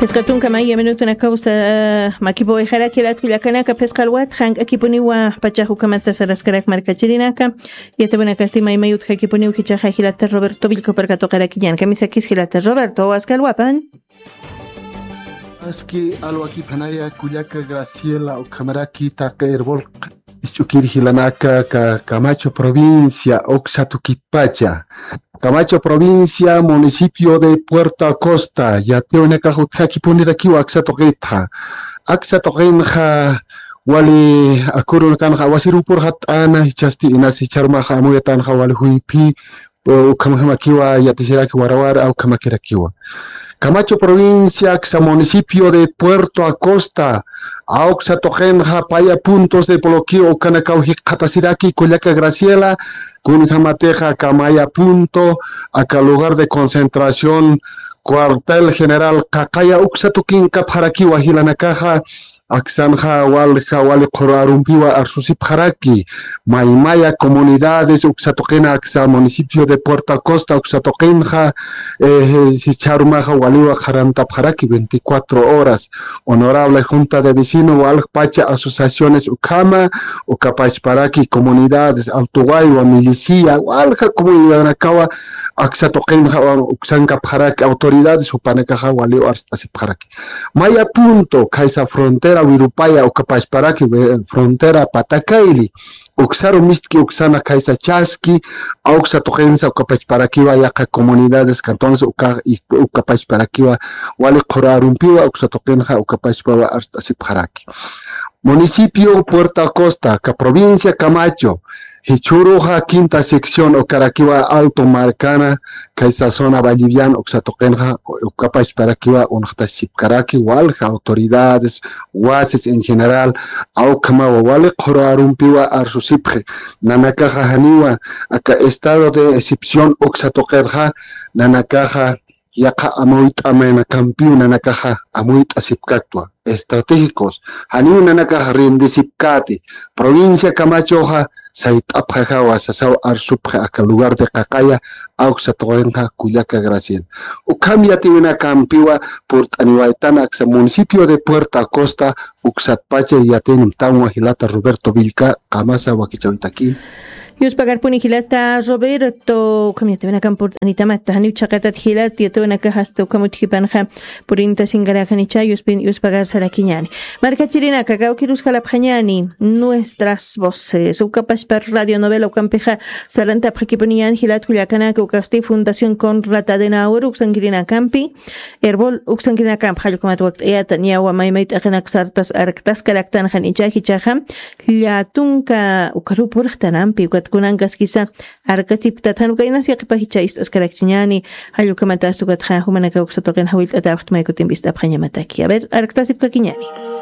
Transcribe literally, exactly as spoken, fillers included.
Phisqa tunka maya minutunakaw makipuwayxaraki latku llakanaka, phisqa alwat jank'akipuniwa pachax ukhamata saraskarak markachirinaka. Yatawinakasti maymay utjakipuniw jichaxa jilata Roberto Villka parkatuqarakiñan. Kamisakis jilata Roberto, waska alwapan. Aski alwakiphanaya kullaka Graciela ukhamaraki taqi Erbol isch'ukir jilanaka ka Camacho provincia uksa tukitpacha. Camacho provincia, municipio de Puerto Acosta, yatiyawinakax utjakipunirakiwa aksa tuqitxa. Aksa tuqinxa wali akurunakanxa awasirupurxa t'ana, jichhasti inas jichharumaxa amuyatanxa wali juyphi, ukhamjamakiwa yatisiraki warawar ukhamakirakiwa. Camacho provincia, aksa municipio de Puerto Acosta, awksa tuqinxa paya puntos de bloqueo ukanakaw jikxatasiraki kullaka Graciela, kunjamatixa aka maya punto, aka lugar de concentración, cuartel general Qaqaya uksa tukinkapxarakiwa jilanakaxa, aksanxa walja wali qhuru arumpiwa arsusipxaraki, maymaya comunidades uksa tuqina aksa municipio de Puerto Acosta uksa tuqinxa, eh, jichharumaxa waliwa qharantapxaraki veinticuatro horas. Honorable Junta de Vecino, walja pacha asociaciones ukhama, ukapachparaki comunidades, Alto Waywa, Milicia, walja comunidadanakawa aksa tuqinxa uksankapxaraki, autoridades jupanakaxa waliwa arst'asipxaraki. Maya punto, khaysa frontera Wirupaya ukapachparaki, frontera Patakaili, uksaru mistki uksana khaysa chaski, awksa tuqinsa ukapachparakiwa yaqa comunidades, entonces uka, ukapachparakiwa wali qhuru arumpiwa uksa tuqinxa ukapachpawa arst'asipxaraki. Municipio Puerto Acosta, ka provincia Camacho, jichhüruxa quinta sección ukarakiwa Alto Marcana, khaysa zona Vallivian uksa tuqinxa ukapachparakiwa unxtasipkaraki, walja autoridades, wasis en general, awkhamawa wali qhuru arumpiwa arsusipxi. Nanakaxa janiwa aka estado de excepción uksa tuqirxa, nanakaxa yaqa amuyt'amaynakampiw nanakaxa amuyt'asipkaktwa, estratégicos, janiw nanakaxa rindisipkati, provincia Camachoxa sayt'apxajawa sasaw arsupxi aka lugar de Qaqaya, awksa tuqinxa kullaka Graciela. Ukham yatiwinakampiwa purt'aniwaytan aksa municipio de Puerto Acosta, uksatpacha yatinimtanwa jilata Roberto Villka, qamasa wakichawitaki. Yuspagarpuni jilata Roberto, ukham yatiwinakan purt'anitamata, janiw chhaqatat jilat, yatiwinakax hasta ukham utjipanxa purinta singarakanicha, yuspin, yuspagarsarakiñani. Markachirinaka, kawkirus jalapxañani, nuestras voces. Ukapashpa radio novela ukampixa, sarantapxakipuniñan jilat kullakanaka, ukasti Fundación Konrad Adenauer, uksankirinakampi, Erbol uksankirinakamp jallkumat wakt'ayata, ñawa maymay t'aqinak sartas arktaskaraktan jan icha jichaxa, llatunka ukaru purxtanampi, ukat kunankaskisa arkasipktat jan uka inas yaqhipa jicha ist'askarakchiñani, jallkumat asta ukatxa jumanaka uksa tuqin jawillt'atapxtmay kutimpi ist'apxañamataki. A ver, arktasipkakiñani.